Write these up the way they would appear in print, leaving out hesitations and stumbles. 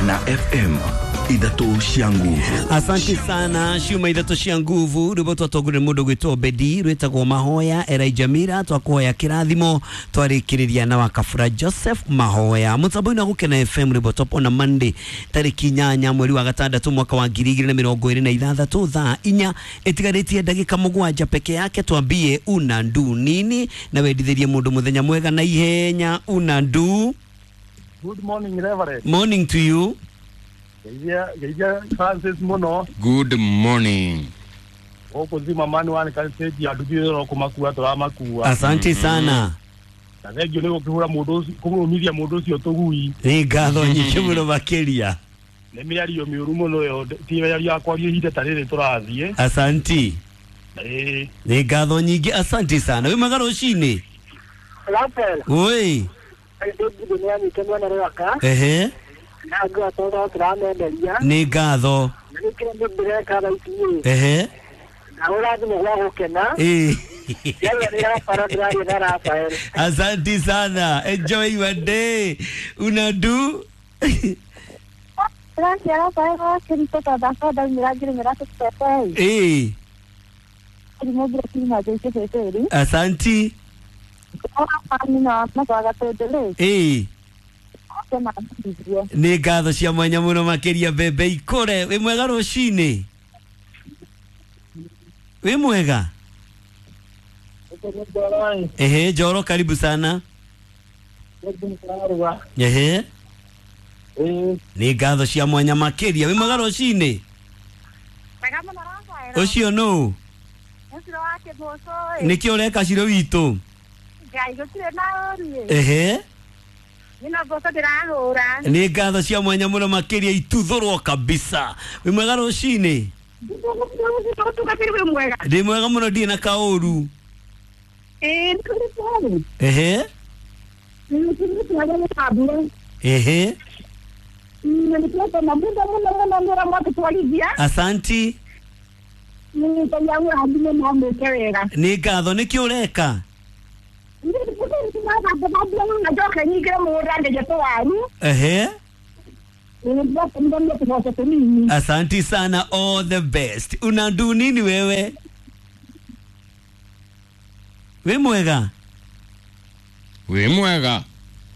Gukena FM, ithatũ cia nguvu. Asante sana, ciuma ithatũ cia nguvu. Rwĩmbo twatongorire mũndũ gwĩtwo Bedi, rwĩtagwo Mahoya Elijah Mira, twakuhoya kĩrathimo, twarĩkĩrĩria na Wakabura Joseph Mahoya. Mũtambo-inĩ wa Gukena FM, rwĩmbo top on a Monday tarĩki 8 mweri wa gatandatũ mwaka wa 2026, thaa 4 ĩtigarĩtie ndagĩka 7 peke yake. Twambie una ndu nini na wendithĩrie mũndũ mũthenya mwega na ihenya. Una ndu. Good morning, Reverend. Morning to you. Geithia geithia Francis muno. Good morning. Gũkũ zima mani wa stage ya nduthi ro kũmakua tũramakua. Asante sana. Na thengio nĩ gũkĩhũra mũndũ ũcio, kũmũmithia mũndũ ũcio tũgui. Nĩ ngatho nyingĩ mũno makĩria. Nĩ mĩario mĩũru mũno ĩyo, ti mĩario ya kwaria ihinda ta rĩrĩ tũrathiĩ. Asanti. Ĩĩ. Nĩ ngatho nyingĩ, asanti sana. Wĩ mwega rũcinĩ? Rafael, Oi. ndĩ nĩ anyite mwena rwaka Ehe. na ngwatoro tũramenderia. Nĩ ngatho. Na gĩkĩra nĩ ndĩreka thaa ici ĩ Ehe. na ũrathimwo gwa gũkena. Ĩ. Yaani nĩ Rafael ndĩraria na Rafael. Asanti sana. Enjoy your day. Unadu. Gracias, Rafael. Kirito tondũ ndaumĩra ngĩrĩmĩra tũtete Ĩ. kĩrimũ ngĩrĩkiuma njĩkĩtĩtĩri Asanti. nina matwaga tũndũ Ĩ. rĩ Nĩ ngatho cia mwanya mũno makĩria, mbembe ikũre. Wĩ mwega rũcinĩ? Wĩ mwega? Ehe, Njoro, karibu sana. Ehe. Nĩ ngatho cia mwanya makĩria. Wĩ mwega rũcinĩ? Wega mũno, Rafael. Ũcio nũ? Ũcio wa kĩmũcũ ĩ. Nĩkĩ ũreka ciro witũ? Ngai gũtirĩ na ũru ĩ. Ehe. Nĩno mboco ndĩrahũra. Nĩ ngatho cia mwanya mũno makĩria, ituthũrwo kabisa. Wĩ mwega rũcinĩ? Ũtungatĩri wĩ mwega? Ndĩ mwega mũno, ndirĩ na kaũru. Ĩ nĩ kũrĩ twarĩ. Ehe. Ehe. Nĩtwetena mũno mũno mũno nĩ ũrĩa mwatũtwarithia. Asanti. Ngai agũrathime na amwĩke wega. Nĩ ngatho. Nĩkĩ ũreka? Njoke nyingĩre mũgũnda ngeje tũwaru. Ehe. Nĩndĩratũmithania tũboco tũnini. Asanti sana, all the best. Unandu nini wewe? Wĩ mwega? Wĩ mwega.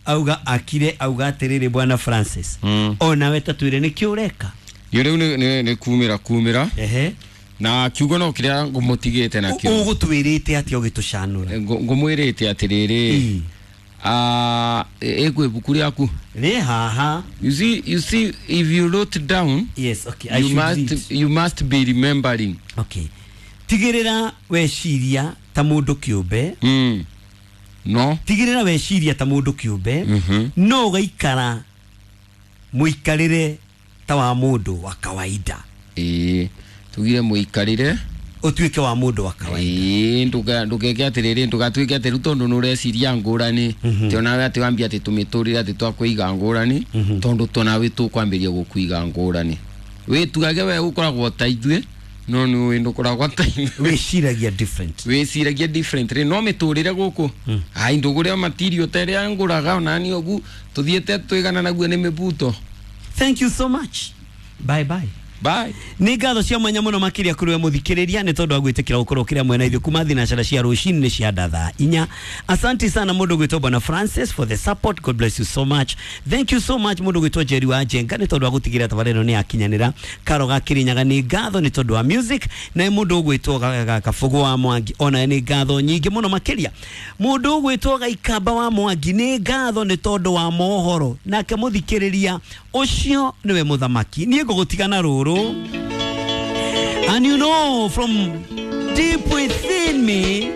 Auga akire, auga atĩrĩrĩ, bwana Francis. Onawe ta twĩre nĩkĩ ũreka? Rĩu nĩ kumĩra kumĩra. Ehe. Na kiugo no kĩrĩa ngũmũtigĩte nakĩo. Ũgũtwĩrĩte atĩa ũgĩtũcanũra? Ngũmwĩrĩte atĩrĩrĩ. Ĩ. Ĩkwĩ ibuku rĩaku. Rĩ haha. You see, if you wrote down, Yes, okay, I you should must read. you must be remembering. Okay. Tigĩrĩra weciria ta mũndũ kĩũmbe. No. Tigĩrĩra weciria ta mũndũ kĩũmbe. No ũgaikara mũikarĩre ta wa mũndũ wa kawaida. Ĩĩ. Tugire mũikarĩre ũtuĩke wa mũndũ wa kawaida. Ĩĩ, ndũgeke atĩrĩrĩ, ndũgatuĩke atĩ rĩu tondũ nĩũreciria ngũrani, ti onawe atĩ wambie atĩ tũmĩtũrĩre atĩ twakũiga ngũrani, tondũ tonawe tũkwambĩrĩria gũkũiga ngũrani. Wĩtugage we ũkoragwo ta ithuĩ, no nĩũĩ ndũkoragwo ta ithuĩ. Wĩciragia different. Wĩciragia different rĩ, no mĩtũrĩre gũkũ ai ndũgũre matirio ta ĩrĩa ngũraga onani ũgu tũthiĩte twĩgana naguo nĩ mĩbuto. Thank you so much. Bye bye. Bye. Nĩ ngatho cia mwanya mũno makĩria kũrĩ we mũthikĩrĩria nĩ tondũ wa gwĩtĩkĩra gũkorwo kĩrĩa mwena ithuĩ kuma thinacara cia rũcinĩ nĩ cia thaa 4. Asante sana mũndũ gwĩtwo bwana Francis for the support. God bless you so much. Thank you so much mũndũ gwĩtwo Jerry wa Njenga nĩ tondũ wa gũtigĩrĩra tabarĩra ĩno nĩ yakinyanĩra. Karo ga Kĩrĩnyaga nĩ ngatho nĩ tondũ wa music. Na mũndũ ũgwĩtwo Kabũgũ wa Mwangi onaye nĩ ngatho nyingĩ mũno makĩria. Mũndũ ũgwĩtwo Gaikamba wa Mwangi nĩ ngatho nĩ tondũ wa mohoro. Nake mũthikĩrĩria ũcio nĩwe mũthamaki. Niĩ ngũgũtiga na rũrũ. And you know from deep within me,